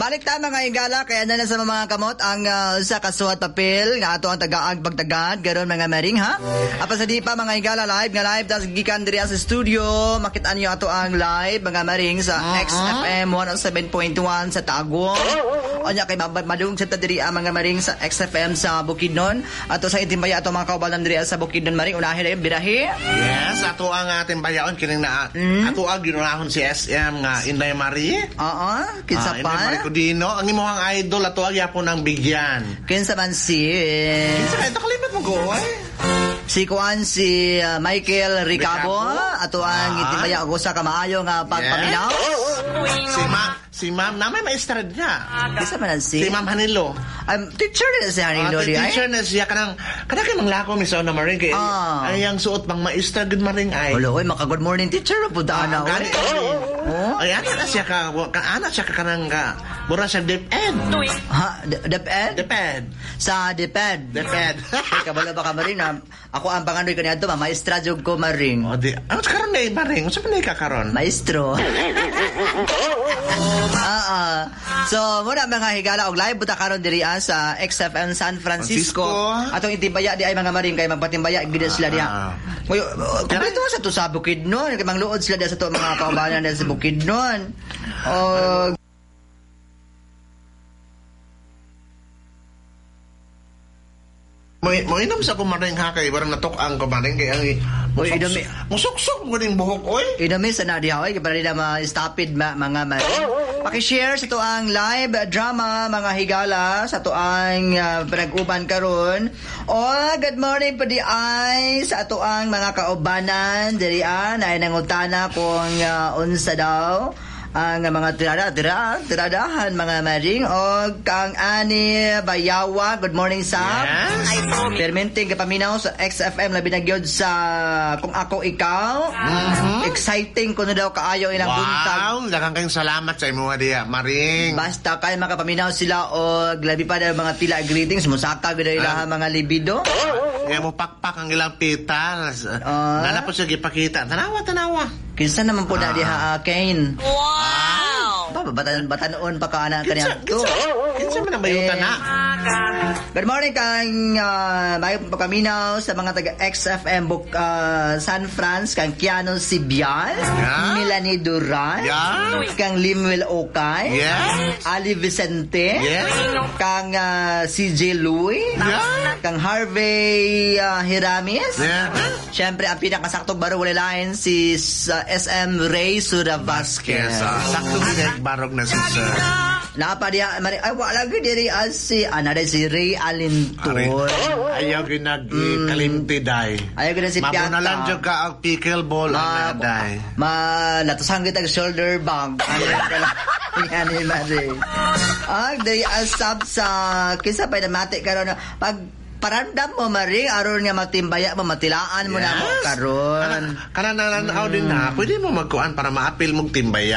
Balik ta, mga higala, kaya na lang sa mga kamot ang sa kasuhat papel nga ato ang tagaag pagtagad garon, mga maring, ha. Apan sa di pa, mga higala, live nga live tas gikan diri sa studio, makita niyo ato ang live, mga maring, sa XFM 107.1 sa Tagum. Onya kay madung sa ta diri ang mga maring sa XFM sa Bukidnon. Ato sa itimbaya ato mga kaubanan diri sa Bukidnon, maring, unahin na birahe. Yes, ato ang ating bayaon kining na ato ang ginunahon si SM nga Inday Marie. Oo, kinsa Ah, pa? Inday Marie Codino, ang imong idol ato ang yapon ang bigyan. Kinsa man si Kinsa kay ito kalimot mo go ay? Si kuan si Michael Ricabo, Ricabo? Ato ang itimbaya og usa ka maayo nga pagpaminaw. Si Ma'am na may maestra niya. Kinsa man ang si? Si Ma'am Hanilo. Teacher na si Hanilo di ay. Teacher na siya kanang kay manglako mi sa una, maring, kay ay ang suot pang maestra gud, maring, ay. Wala oy, maka good morning teacher pud ana oy. Gani. Oh. Ay, ana na siya ka ana siya ka kanang ka mura siya DepEd. Ha, DepEd? DepEd. Sa DepEd. DepEd. Ay, kabalo ba ka, maring, na ako ang panganoy kaniadto, ma maestra jud ko, maring. O di, ano sa karon na maring? Unsa man ka karon? Maestro. Ah. So, muna, mga higala, og live buta karon diri sa XFM San Francisco. Francisco. Atong itimbaya di ay, mga maring, kay magpatimbaya gid sila diha. Ngayon, kumpleto sa to sa Bukidnon, kay mangluod sila diha sa to mga kaubanan diha sa Bukidnon. Og Mo inom sa ko, maring, ha, kay barang natok-ang ko, maring, kay ang Uy, inom- musuksok mo ning buhok oy. Inami sa na diha oy, kay para nila ma-stopid ma, mga maring. Paki-share sa to ang live drama, mga higala, sa to ang panag-uban karon. Oh, good morning po di ay sa ato ang mga kaubanan diri ay nangutana kung unsa daw ang mga tirada, tira, tiradahan, mga maring, o kang Ani Bayawa, good morning sa Perminting kapaminaw sa XFM, labi na gyud sa Kung Ako Ikaw. Exciting kuno daw kaayo ilang buntag. Wow, daghang kayong salamat sa imo diha, maring. Basta kay makapaminaw sila og labi pa daw mga tila greetings, musaka gyud ilaha mga libido. Kaya mo pakpak ang ilang petals. Ah. Nana po siya gipakita. Tanawa, tanawa. Kinsa naman po na diha, Kane? Wow! Ba, batan batanon pa ka na Kinsa, kaniya to. kinsa man ang bayutan Eh, na? Good morning kang may pagkaminaw sa mga taga XFM Buk, San Franz, kang Keanu Sibian, Melanie Duran, kang Limuel Okay, Ali Vicente, kang CJ Louie, kang Harvey Hiramis. Siyempre, ang pinakasaktong baro wala lain si SM Ray Sura Vasquez. Yes, sakto din barog na si sir. Napa diha mari ay wala gyud diri as si ana si Ray Alinton. Ayaw ginag kalimti day. Ayaw gyud si Piata. Mabunalan jud ka ang pickleball ana day. Ma latusan kita ang shoulder bag. Ano kala? Yan ni Mari. Ah, diri asap sa kinsa pa namati karon pag parandam mo, Mari, aron nga matimbaya mo, matilaan mo na mo karon. Kana nananaw din na, pwede mo magkuan para maapil mong timbaya.